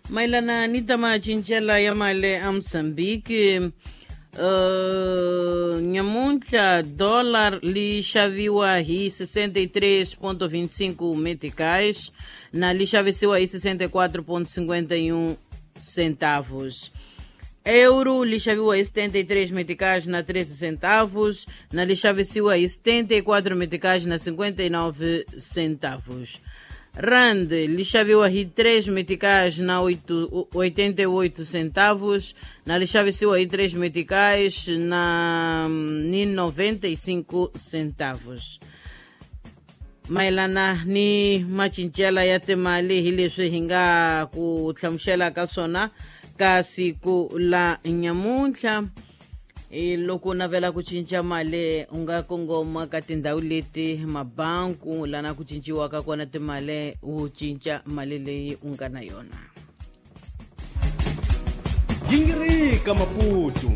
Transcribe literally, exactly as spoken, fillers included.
Mayelana ni ta macincela ya mali a Mozambique, uh, nyamuntlha dollar li xaviwa hi sessenta e três ponto vinte e cinco meticais na li xavisiwa hi sessenta e quatro ponto cinquenta e um centavos. Euro li xaviwa hi setenta e três meticais na treze centavos, na li xavisiwa hi setenta e quatro meticais na cinquenta e nove centavos. Rand li xaviwa hi três meticais na oito, oitenta e oito centavos, na li xavisiwa hi três meticais na noventa e cinco centavos. Mayelana ni macincela ya timali hi leswi hi nga ku hlamusela ka swona ka siku la nyamuntlha. E loko navela ku cinca mali u nga kongoma ka tindhawu leti mabanku lana ku cinciwaka kona timali, u cinca mali leyi u nga na yona. Gingirika Maputo.